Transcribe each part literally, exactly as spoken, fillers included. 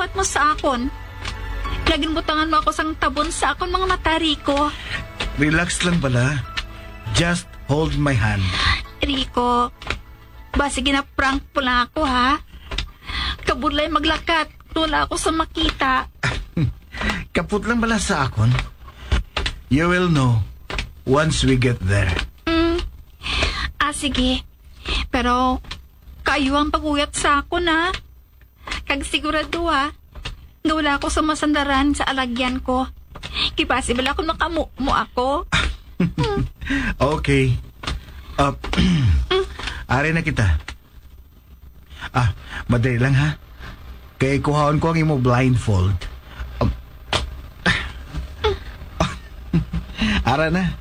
pagpakpat mo sa akon. Nga ginbutangan mo ako sang tabon sa akon mga mata, Rico. Relax lang bala. Just hold my hand. Rico, basi gina-prank mo lang ako, ha? Kabudlay maglakat, wala ako sa makita. Kapot lang bala sa akon. You will know once we get there. Mm. Ah, sige. Pero, kayo ang pag-uyat sa akon, ha? Kag sigurado, ha, nga wala ako sa masandaran sa alagyan ko. Kay basi bala ako makamumo ako. Okay. Ah, ari na kita. Ah, madali lang, ha? Kay kuhaon ko ang imo blindfold. Um, ara na.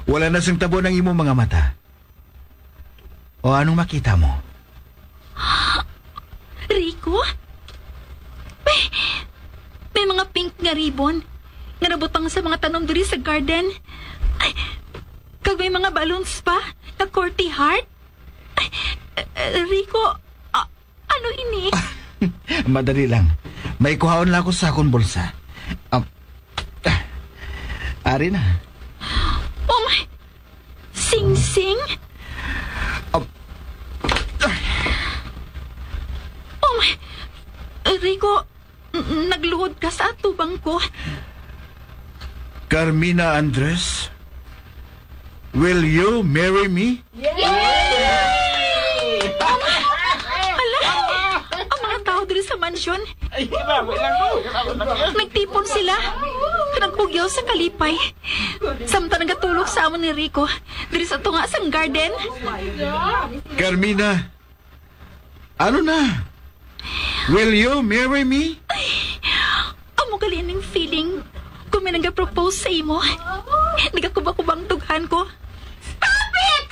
Wala na sing tabon ang imo mga mata. O, anong makita mo? Rico? May, may mga pink nga ribbon nga nabutang sa mga tanom diri sa garden. Ay, kag may mga balloons pa nga corti heart. Ay, eh, Rico, a-, ano ini? Madali lang. May kuhaon lang ako sa akong bulsa. Um, ah, ari na. Oh my! Singsing? Um, Oh my! Rico, n-, nagluhod ka sa atubang ko. Carmina Andres, will you marry me? Ala, ang mga tao diri sa mansyon, nagtipon sila. Nagpugyaw sa kalipay. Samtang nagatulog sa amon ni Rico, diri sa tunga sang garden. Carmina, ano na? Will you marry me? Amo gali ning feeling. Kung may nagapropose sa imo, nagakubakubang dughan ko. Stop it!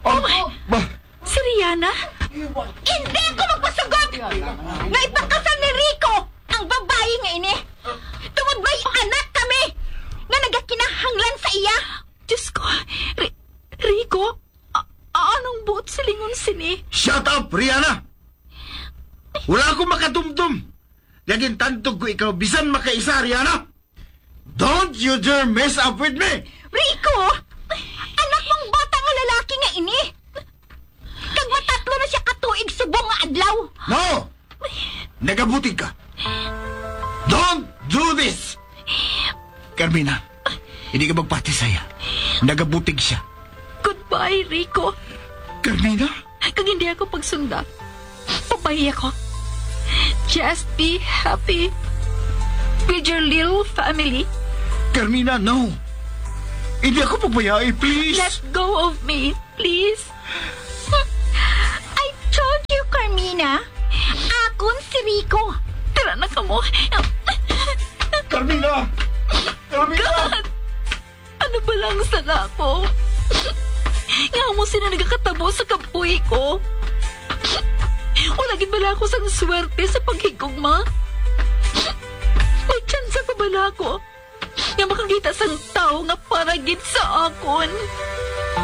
Oh, ba? Si Rihanna? Hindi ako magpasugot nga ipakasal ni Rico ang babayi nga ini. Tungod may anak kami nga nagakinahanglan sa iya. Diyos ko, Ri-, Rico, a-, anong buot silingon sini? Shut up, Rihanna! Wala ako makatumtom. Nga gintantog ko ikaw bisan makaisa, Rihanna! Don't you dare mess up with me! Rico! Anak mong bata nga lalaki nga ini! Kag matatlo na siya ka tuig subong nga adlaw! No! Nagabutig ka! Don't do this! Carmina, hindi ka magpati saya. Nagabutig siya. Goodbye, Rico. Carmina? Kag hindi ako pagsunda, papahiya ko. Just be happy with your little family. Carmina, no. Hindi ako pagbayai, please. Let go of me, please. I told you, Carmina. Akon si Rico. Tara na kamo. Carmina! Carmina! God! Ano bala ang sala ko? Nga amo sina nagakatabo sa kabuhi ko? Wala gid bala ako sang swerte sa paghigugma? May tsansa pa bala ako nga makakita sang tawo nga para gid sa akon?